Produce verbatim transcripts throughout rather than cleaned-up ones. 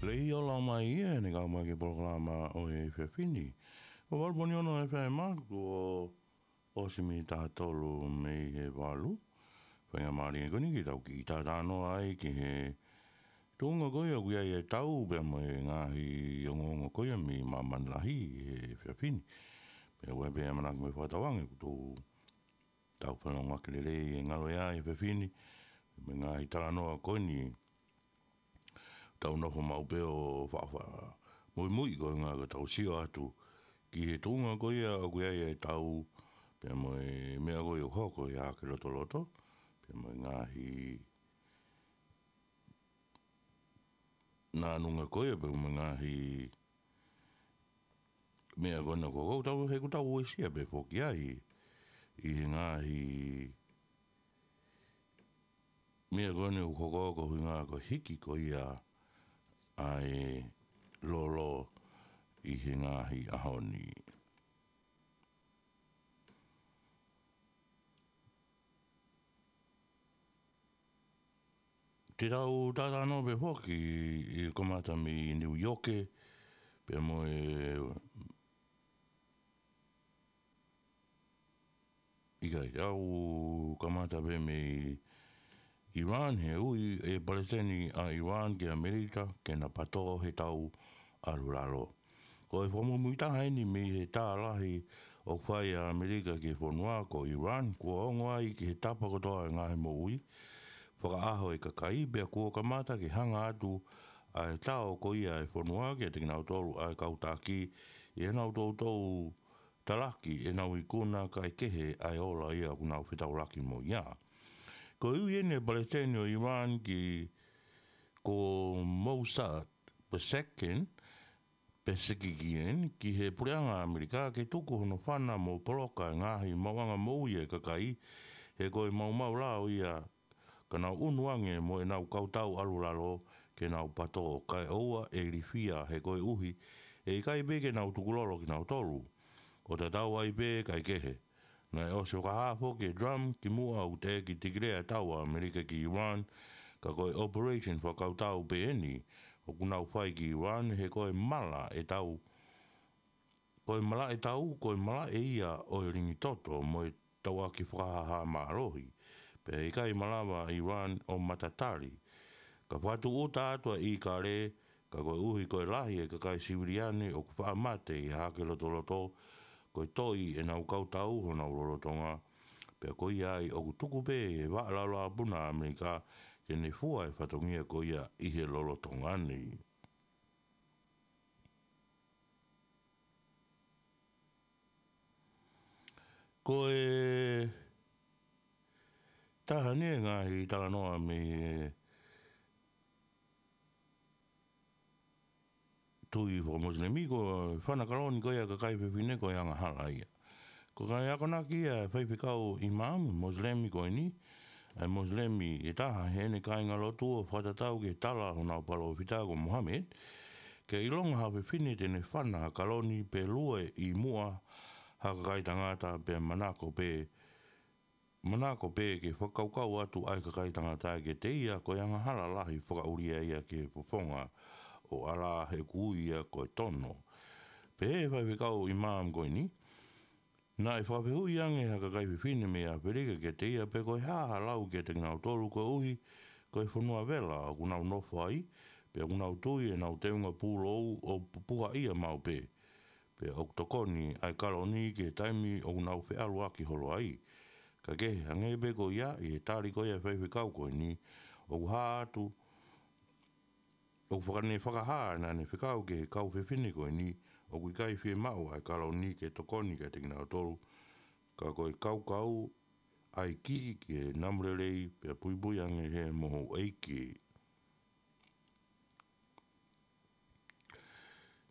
Pea ʻoku ʻalu mai ia, ʻene kau mai ki he polokalama ʻo e efiafi ni. ʻO valu poini ono F M, kuo ʻosi miniti ʻe tolu mei he valu. Faingamālie ko eni ke tau kiʻi talanoa ai ki he tuʻunga ko ia ʻoku ʻi ai e tau pea mo e ngaahi ongoongo ko ia mei māmani lahi he efiafi ni. Pea ʻoku ʻi ai pē ʻa e manako mo e fakatauange kuo tau tau fanongo ʻaki lelei e ngalo ia he efiafi ni, mo e ngaahi talanoa ko eni. Tau nofo maʻu pē ʻo faʻa muimui ko e ʻuhinga ka tau sio atu ki he tuʻunga ko ia ʻoku ʻi ai e tau, pea mo e meʻa ko ia ʻoku hoko ia ki lotoloto, pea mo e ngaahi nānunga ko ia, pea mo e ngaahi meʻa ko ena ko ʻoku tau, he ʻoku tau uesia pē foki ai ʻi he ngaahi meʻa ko ena ʻoku hoko ko e ʻuhinga ko e hiki ko ia ʻa e lolo ʻi he ngaahi ʻaho ni. Te tau talanoa pē foki ʻi he kamata mei New York, pea mo e ʻikai, tau kamata pē mei Iran, he ui e palesiteni ʻa Iran ki ʻAmelika ke na patō he tau ʻalu lalo. Ko e fakamuimui taha eni mei he tā lahi ʻoku fai ʻa ʻAmelika ki he fonua ko Iran, kuo ongo ai ki he tapa kotoa e ngaahi moʻui fakaʻaho e kakai, pea kuo kamata ke hanga atu ʻa e tao ko ia e fonua kiate kinautolu ʻa e kau taki ʻi heʻenau toutou talaki ʻenau ikuna kae kehe ʻa e ola ia ʻoku nau fetaulaki mo ia. Ko e ui eni e palesiteni ʻo Iran ki ko Mossad Pezeshkian, Pezeshkian ki he puleʻanga ʻAmelika ke tuku hono fana mo poloka e ngaahi maʻuʻanga moʻui e kakai, he ko e maumau lao ia ka nau ʻunu ange mo ʻenau kau tau ʻalu lalo ke nau patō, kae ʻoua ʻe ilifia he koeʻuhi ʻe ʻikai pē ke nau tukulolo kinautolu. ʻO tatau ai pē kae kehe. Naʻe ʻosi fakahā foki ʻe Trump kimuʻa ʻoku teʻeki tikilea e tau ʻa ʻAmelika ki Iran, ka ko e operation fakakautau pē eni ʻoku nau fai ki Iran, he ko e mala e tau, ko e malaʻe tau, ko e malaʻe ia ʻo e lingi toto mo e tauʻaki fakahāhā mālohi. Pea ʻikai malava ʻa Iran ʻo matatali. Ka fakatūʻuta atu ʻa ʻIkale, ka koeʻuhi ko e lahi e kakai siviliane ʻoku faʻa mate ʻi he hahake lotoloto, ko e toʻi ʻenau kau tau honau lolotonga. Pea ko ia ai ʻoku tuku pē ʻe he vaʻa laulāpuna ʻa ʻAmelika ke ne fua e fatongia ko ia ʻi he lolotonga ni. Ko e taha eni e ngaahi talanoa mei he tui fakamosilemi, ko e fana kaloni ko ia ʻa e kakai fefine ko e angahala ia. Ko e akonaki ia ʻa e faifekau imam mosilemi ko eni, ʻa e mosilemi ʻe taha heʻene kāingalotu ʻo fakatatau ki he tala honau palōfita ko Muhammad, ke ʻilonga ha fefine te ne fana ha kaloni pe lue ʻi muʻa ha kakai tangata pea manako pē, manako pē ke fakakaukau atu ʻa e kakai tangata kiate ia ko e angahala lahi fakaʻulia ia ki he fofonga ʻo ʻAlā he ʻoku ui ia ko e tono. Pehē ʻe he faifekau imam ko eni, naʻe fakafehuʻi ange ʻe ha kakai fefine mei ʻAfilika kiate ia pe ko e hā ha lau kiate kinautolu koeʻuhi ko e fonua vela ʻoku nau nofo ai, pea ʻoku nau tui ʻenau teunga pūlou ʻo pupuhaʻia maʻu pē. Pea ʻoku tokoni ʻa e kaloni ki he taimi ʻoku nau feʻaluʻaki holo ai. Ka kehe, hangē pē ko ia, ʻi he tali ko ia ʻa e faifekau ko eni, ʻoku hā atu, ʻoku fakane fakahā naʻa ne fekau ki he kau fefine ko eni, ʻoku ʻikai fiemaʻu ʻa e kaloni ke tokoni kiate kinautolu, ka ko e kaukau ʻa e kī ki he namu lelei pea puipui ange ʻe he mohu ʻeiki.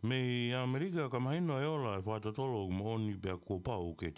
Mei ʻAmelika, ka mahino e ola ʻa e fakatotolo ʻoku moʻoni pea kuo pau ke